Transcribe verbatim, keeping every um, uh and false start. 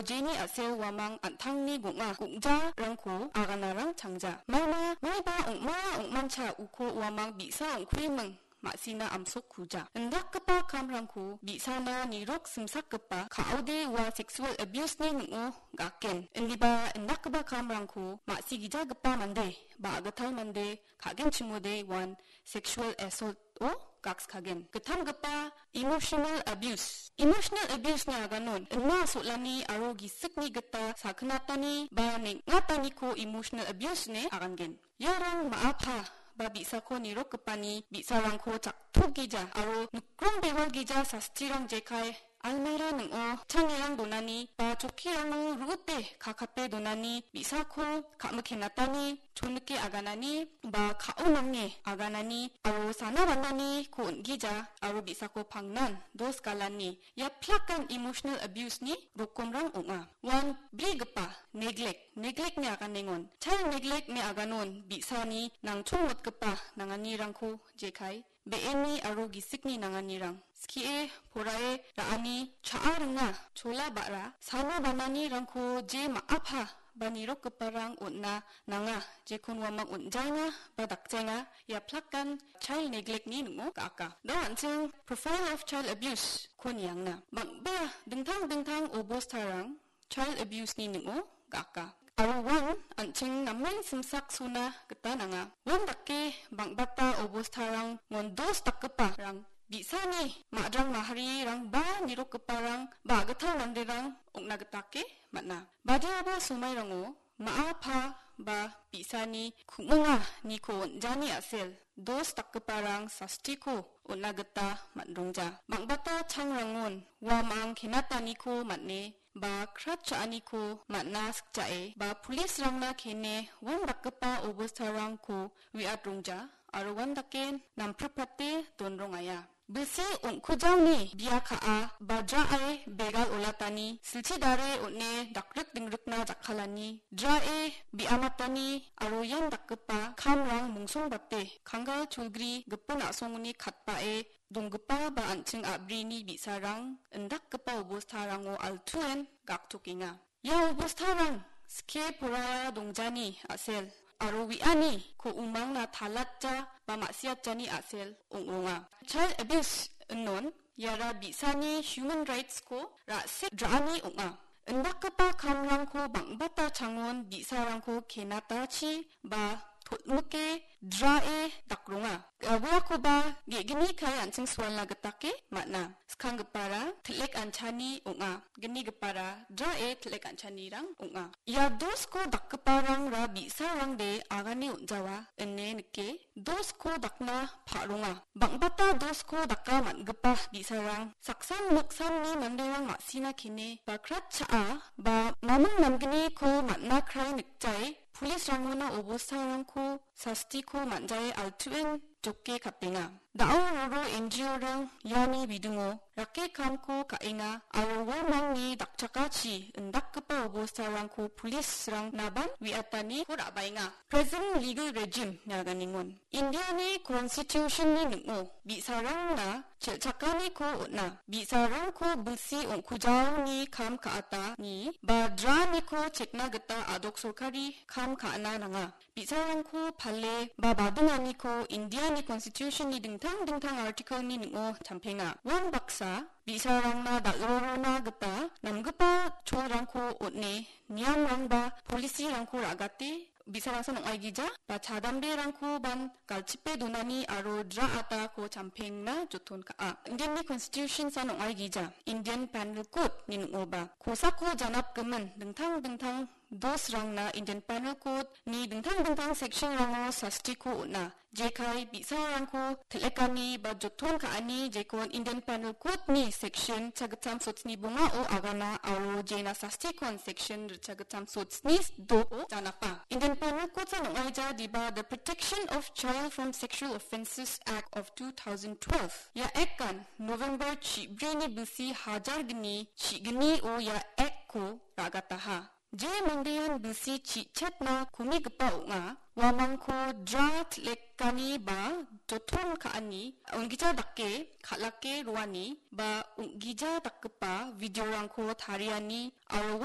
Jeni a·sel uamang an·tangni gong·a gongjarangko aganarang changja. Maina maiba ong·mara ong·mancha uko uamang bi·sa ong·kuiming ma·sina amsokkuja. Indakgipa kamrangko bi·sana nirok simsakgipa ka·ode ua sexual abuse-ni ning·o gaken. Indiba indakgipa kamrangko ma·sigijagipa mande ba a·gital mande ka·genchimode uan sexual assault-o gakskagen. Gittamgipa emotional abuse. Emotional abuse-ni aganon inma sol·ani aro gisikni gita sakgnatani ba neng·ataniko emotional abuse ine agangen. Iarang ma·a pa ba bi·sako nirokgipani bi·sarangko chaktokgija aro nikrong bewalgija sastirang jekai almera ning·o changerang donani ba chokkirango ru·ute kakape donani bi·sako ka·mikenatani chonike aganani ba ka·o nange aganani aro sana bananiko on·gija aro bi·sako pangnan dos galani. Ia plakan emotional abuse-ni rokomrang ong·a. Uan brigipa neglect, neglect-ni aganengon. Child neglect-ni aganon bi·sani nangchongmotgipa nanganirangko jekai be·eni aro gisikni nanganirang. Skie, porae, ra·ani, cha·a ringa, chola ba·ra, sana bananirangko je ma·a pa ba nirokgiparang on·na nanga, jekon uamang on·jaenga ba dakjaenga, ia plakan child neglect-ni ning·o ga·aka. Da an·ching profile of child abuse-ko niangna. Bang·bea dingtang dingtang obostarang child abuse-ni ning·o ga·aka. Aro uan an·ching namen simsaksona gita nanga. Uandake bang·bata obostarangon dos dakgiparang bi·sani madrang maharirang ba nirokgiparang ba a·gital manderang ong·na gitake man·a. Badiaba somairango ma·a pa ba bi·sani ku·minganiko on·jani a·sel dos dakgiparang sastiko on·na gita man·rongja. Bang·bata changrangon uamang kenataniko man·e ba krat cha·aniko man·na sikjae ba police-rangna kene uandakgipa obostarangko re·atrongja aro uandake nampripate donrongaia. Bilsi ong·kujaoni bia ka·a ba drae begal olatani silchi dare on·e dakrik dingrikna jakkalani drae bi·amatani aro ian dakgipa kamrang mongsongbate kanggal cholgri gipin a·songoni katbae donggipa ba an·ching a·brini bi·sarang indakgipa obostarango altuen gaktokenga. Ia obostarang skie poraiara dongjani a·sel aro uianiko umangna talatja ba ma·siatjani a·sel ong·ronga. Child abuse inon iara bi·sani human rights-ko ra·sik ra·ani ong·a. Indakgipa kamrangko bang·bata changon bi·sarangko kenatachi ba totmike drae dakronga. Uiakoba ge·gni kae an·ching sualna gitake man·a. Skanggipara til·ek anchani ong·a. Gnigipara drae til·ek anchanirang ong·a. Ia dosko dakgiparangra bi·sarangde agane on·jawa ine nike dosko dakna pa·ronga. Bang·bata dosko daka man·gipa bi·sarang saksan moksanni manderang ma·sina kene ba krat cha·a ba mamung namgniko man·na krai nikjae police-rangona obostarangko sastiko man·jae altuen joke kapenga. Da·o roro N G O-rang iani bidingo rake kamko ka·enga aro uamangni dakchakachi indakgipa obostarangko police-rang naban uiataniko ra·baenga. Present legal regime niaganengon. Indiani Constitution-ni ning·o bi·sarangna chel·chakaniko on·a. Bi·sarangko bilsi ong·kujaoni kam ka·atani ba draniko chekna gita a·dok sorkari kam ka·na nanga. Bi·sarangko pale ba badinganiko Indiani Constitution-ni dingtang dingtang article-ni ning·o champenga. Uan baksa bi·sarangna dal·rorona gita namgipa cholrangko on·e niamrang ba policy-rangko ra·gate bi·sarangsan ong·aigija ba chadamberangkoban galchipe donani aro dra·atako champengna joton ka·a. Indianni Constitution-san ong·aigija Indian Penal Code-ni ning·oba kosako janapgimin dingtang dingtang dosrangna Indian Penal Code-ni dingtang dingtang section-rango sastiko on·a. Jekai bi·sarangko til·ekani ba joton ka·ani jekon Indian Penal Code-ni section chagittam sotsni bongao agana aro jena sastikon section ritchagittam sotsni doko janapa. Indian Penal Code-san ong·aija diba The Protection of Child from Sexual Offences Act of two thousand twelve. Ia Act-an November chibrini bilsi hajar gni chigni-o ia Act-ko ra·gataha. Je mandean bilsi chi·chatna komigipa ong·a, uamangko dra til·ekani ba joton ka·ani, ong·gija dake kal·ake roani ba ong·gija dakgipa video-rangko tariani aro